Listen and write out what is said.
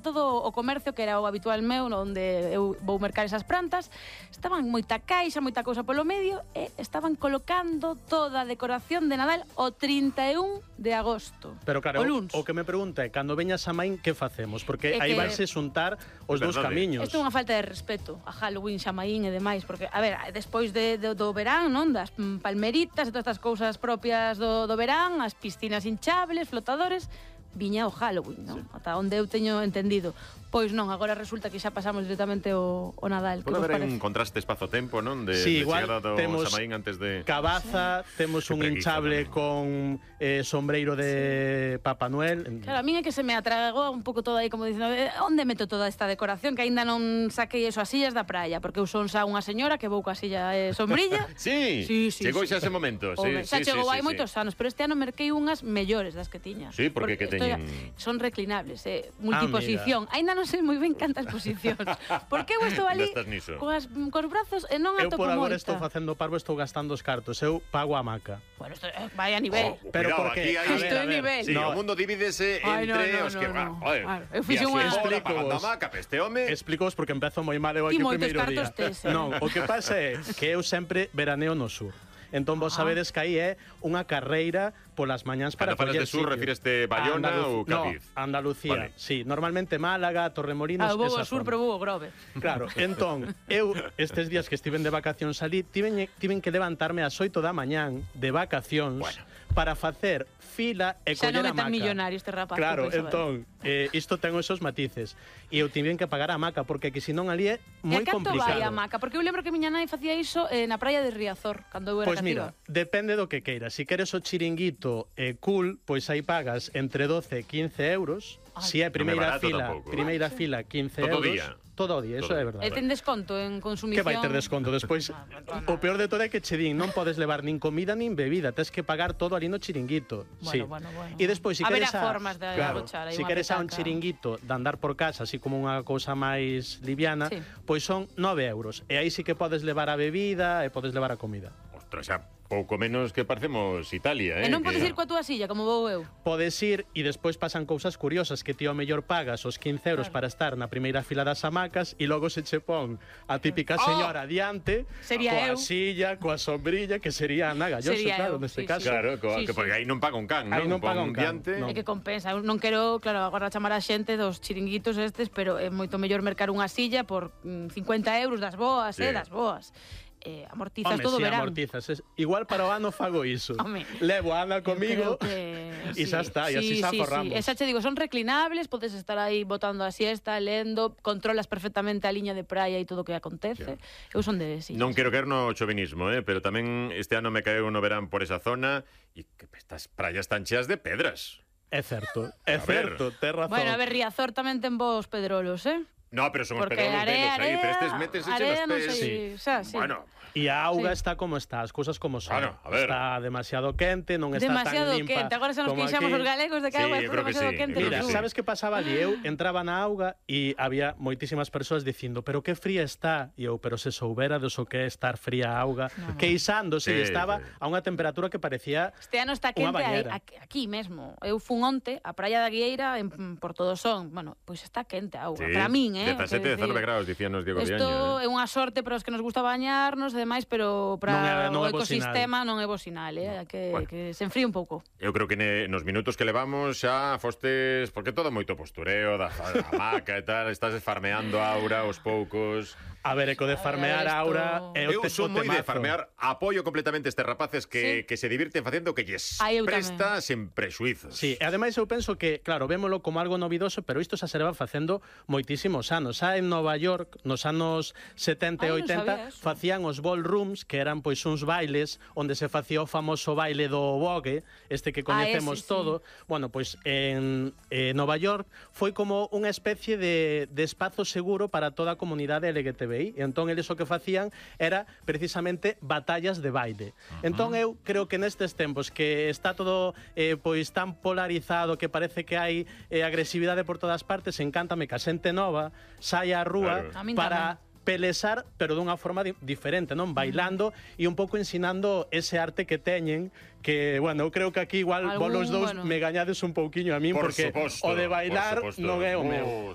todo o comercio que era o habitual meu, onde eu vou mercar esas plantas, estaban moita caixa, moita cousa polo medio e estaban colocando toda a decoración de Nadal o 31 de agosto. Pero claro, o luns. o que me pregunta é, cando veñas a Maín, que facemos? Porque É aí que- vanse xuntar os dous camiños. Isto é unha falta de respeto a Halloween, Xamaín e demais, porque, a ver, despois do verán, non? Das palmeritas e todas estas cousas propias do verán, as piscinas hinchables, flotadores, viña o Halloween, non? Sí. Ata onde eu teño entendido. Pois non, agora resulta que xa pasamos directamente o Nadal. Pode haber un contraste espazo-tempo, non? Sí, igual chegada do temos Xamaín antes de... Cabaza, temos un hinchable con sombreiro de Papá Noel. Claro, a min é que se me atragou un pouco todo aí, como dicindo, onde meto toda esta decoración, que aínda non saquei eso as sillas da praia, porque eu son xa unha señora que vou coa silla sombrilla. Sí, chegou xa ese momento. Home, xa chegou hai moitos anos, pero este ano merquei unhas mellores das que tiña. Sí, porque que teñen... Son reclinables, multiposición. Aínda non sei moi ben cantas posicións. Porque eu estou ali cos brazos e non atopo moita. Eu por agora estou facendo parvo, estou gastando os cartos. Eu pago a maca. Bueno, isto vai a nivel. Pero porque isto é nivel. Sí, o mundo divídese entre os que... Eu fixo unha... Explico-vos porque empezo moi mal eu aquí o primeiro día. Non, o que pasa é que eu sempre veraneo no sur. Entón vos sabedes que aí é unha carreira polas mañáns para coller sitio. Cando falas de sur, refíreste Bayona ou Cádiz? No, Andalucía, sí. Normalmente Málaga, Torremolinos, vou ao sur, pero vou ao Grove. Claro, entón, eu estes días que estiven de vacacións ali, tiven que levantarme ás 8 da mañán de vacacións para facer fila e coller a maca. Xa non é tan millonario este rapaz. Claro, entón, isto ten esos matices. E eu tiven que pagar a maca, porque que senón ali é moi complicado. E a canto vai a maca? Porque eu lembro que miña nai facía iso na praia de Riazor, cando eu era cativa. Pois mira, depende do que queiras. Si queres o chiringuito cool, pois aí pagas entre 12 e 15 euros. Si é primeira fila 15 euros. Todo o día, eso é verdade. E ten desconto en consumición? Que vai ter desconto? Despois, o peor de todo é que che din, non podes levar nin comida nin bebida, tens que pagar todo ali no chiringuito. Bueno. E despois, si queres formas de agochar, si queres un chiringuito de andar por casa, así como unha cousa máis liviana, pois son 9 euros. E aí sí que podes levar a bebida e podes levar a comida. Ostras, xa pouco menos que parecemos Italia, E non podes ir coa túa silla, como vou eu? Podes ir e despois pasan cousas curiosas, que ti ao mellor pagas os 15 euros para estar na primeira fila das hamacas e logo se che pon a típica señora adiante, coa silla, coa sombrilla, que sería Ana Galloso, claro, neste caso. Claro, porque aí non paga un can, non? Aí non paga un can. É que compensa. Eu non quero, claro, agora chamar a xente dos chiringuitos estes, pero é moito mellor mercar unha silla por 50 euros das boas, das boas. Amortizas todo o verán. Amortizas. Igual para o ano fago iso. Levo a Ana comigo e xa está, e así xa forramos. Esa che digo, son reclinables, podes estar aí botando a siesta, lendo, controlas perfectamente a liña de praia e todo o que acontece. Eu son de sillas. Non quero caer no chovinismo, pero tamén este ano me caeu no verán por esa zona e que estas praias están cheas de pedras. É certo, ten razón. Bueno, a ver, Riazor tamén ten vos pedrolos, No, pero son os pedrolos velos aí, pero estes metes eche nos pés. Bueno, e a auga está como está, as cousas como son. Claro, a ver. Está demasiado quente, non está tan limpa. Quente. Agora se nos queixamos os galegos de que a auga está demasiado quente. Mira, sabes que pasaba ali? Eu entraba na auga e había moitísimas persoas dicindo, pero que fría está. E eu, pero se soubera do que é estar fría a auga, queixándose, estaba a unha temperatura que parecía este ano está quente aquí mesmo. Eu fun onte a praia da Guieira en Portodosón. Bueno, pois está quente a auga. Para min, 17, 19 graus, dicíanos Diego Diaño. Isto é unha sorte para os que nos gusta bañarnos e demais, pero para o ecosistema non é bo sinal, que se enfríe un pouco. Eu creo que nos minutos que levamos xa fostes, porque todo moito postureo da hamaca e tal, estás farmeando a aura aos poucos. A ver, eco de farmear a aura é o eu son moi de farmear, apoio completamente estes rapaces que se divirten facendo que lles presta sen prexuizos. Sí, e ademais eu penso que, claro, vémolo como algo novidoso, pero isto xa se leva facendo moitísimos anos. Xa en Nova York, nos anos 70 e 80, facían os ballrooms, que eran pois uns bailes onde se facía o famoso baile do vogue, este que coñecemos todo. Bueno, pois en Nova York foi como unha especie de espazo seguro para toda a comunidade LGTBI. E entón eles o que facían era precisamente batallas de baile. Entón eu creo que nestes tempos que está todo pois tan polarizado, que parece que hai agresividade por todas partes, encántame que a xente nova saia á rúa para pelesar, pero dunha forma diferente, non? Bailando e un pouco ensinando ese arte que teñen, que, bueno, eu creo que aquí igual vos los dous me gañades un pouquiño a min, porque o de bailar non é o meu.